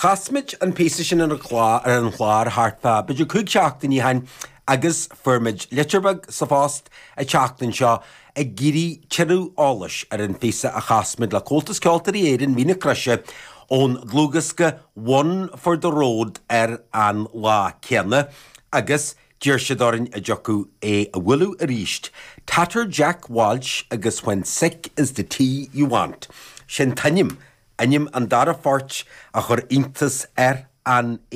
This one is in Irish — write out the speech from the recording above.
Chas muid an píosa sin ar an chlár thart fá b'fhéidir 5 seachtainí ó shin agus fuair muid litir bheag sa phost an tseachtain seo ag iarraidh tuilleadh eolais ar an phíosa a chas muid le Comhaltas Ceoltóirí Éireann, Mín na Croise ón dlúthdhiosca One for the Road ar an lá céanna agus d'iarr siad orainn an dtiocfadh é a bhualadh arís. Tatter Jack Walsh agus When Sick is the Tea You Want. Sin t-ainm, ainm an dara phoirt a chuir iontas ar an.